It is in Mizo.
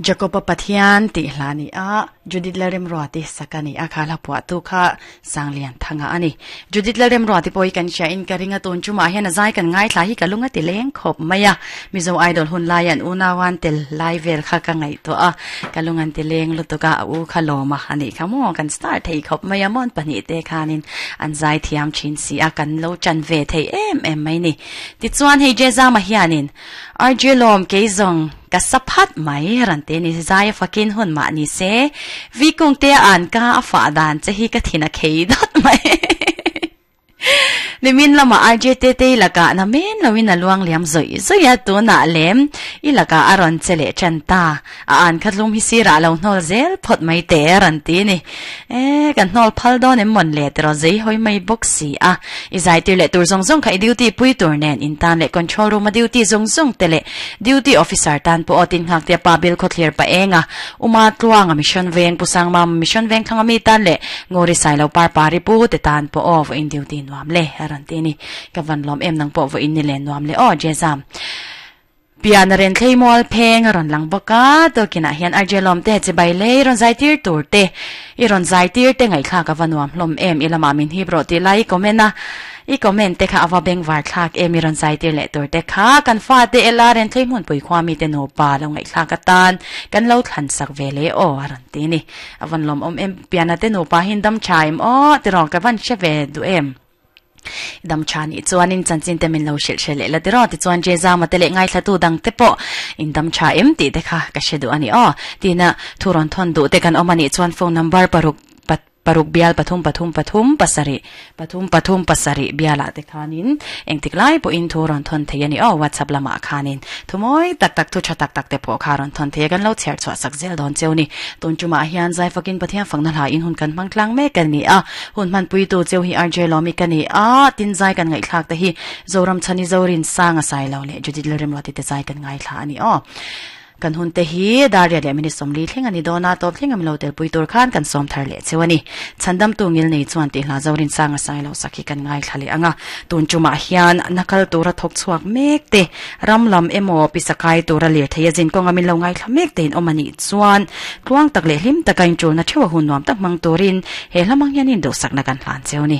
Jakoba Pathian tih hla ni a, Judith Lalremruati sak a ni a, kha hla phuahtu kha Sanglian Thanga a ni. Judith Lalremruati pawh hi kan hria in ka ring a, tun chumah hian a zai kan ngaithla hi ka lung a ti leng khawp mai a, Mizo Idol hun laia an unauan tel lai vel kha ka ngaihtuah a, ka lung an ti leng lutuk a, a u kha lawm a a nih kha maw, kan star thei khawp mai a, mawn pahnihte khanin an zai thiam thin si a, kan lo chan ve thei em em mai ni. Tichuan hei Jezama hianin RJ Lawm kei zawng ka sa phat mai ran te ni zai a fakin hun mah ni se vi kung te an ka a fah dan che hi ka thin a khei dawt mai. Nimin lama RJ te te i lakah na men loin a luang liam zawih zawih a tunah lem i lakah a rawn che leh tan ta. A an kha tlum hi sirah lo hnawl zel phawt mai te a rawn ti ni. E, kan hnawl phal dawn em mawn le tiraw zei hawi mai bawk si a. I zai tir leh tur zawng zawng kha i duty pui tur nen in tan leh control room a duty zawng zawng te leh duty officer tan pawh aw tin nghak tia pa bil khawthlir pa eng a Uma Tluanga mission veng Pu Sangmam mission veng thlang ami tan leh Ngawri Sailo par pari pu te tan pawh aw vawiin duty nuam le a rawn ti ni. Ka van lawm em nang pawh vawiin ni le nuam le aw Jezam. Pian a ren thlei mual pheng a rawn lang bawk a, tukinah hian RJ Lawmte chibai lei rawn zai tir tur te, i rawn zai tir te ngaihthlak a va nuam hlawm em, i lamah min hip rawh tih lai i comment a, i comment te kha a va bengvar thlak em i rawn zai tir leh tur te kha kan fate ela ren thlei hmunpui khua mite nupa lo ngaihthlak atan kan lo thlan sak ve le aw a rawn ti a ni. A van lawmawm em, piana te nupa hi in dam tha em aw tiraw ka van hre ve duh em. Dam tha nih chuanin chanchin te min lo hrilh hre leh la tiraw tichuan Jezama te leh ngaithlatu dang te pawh in dam tha em tih te kha ka hre duh a ni aw. Tina thu rawn thawn duh te kan awm a nih chuan phone number paruk paruk bial pathum pathum pathum pasarih pathum pathum pasarih bialah te khanin engtik lai pawhin thu rawn thawn thei a ni aw WhatsApp lamah khanin thu mawi tak tak thu tha tak tak te pawh kha rawn thawn thei a kan lo chhiar chhuah sak zel dawn cheu ni. Tun tumah hian Zaifakin Pathian fakna hla in hun kan hmang tlang mek a ni a. Hun hmanpuitu cheu hi RJ Lawmi ka ni a, tin zai kan ngaihthlak te hi Zoram Chhani Zorin Sanga Sailo leh Judith Lalremruati te zai kan ngaithla a ni aw. Kan hun te hi Daria leh Minute 40 thleng a ni dawn a, tawp thleng a milo telpui tur khan kan sawm thar leh cheu a ni. Chhandamtu ngil nei chuan tih hla Zorin Sanga Sailo sak hi kan ngaithla leh ang a, tun tumah hian nakal tura thawk chhuak mek te, ram lam emaw pisakai tura lirthei a zin kawnga min lo ngaithla mek te in awm a nih chuan tluang tak leh hlim taka inṭulna theuh a hun nuam tak hmang turin he hlamang hian induhsakna kan hlan cheu a ni.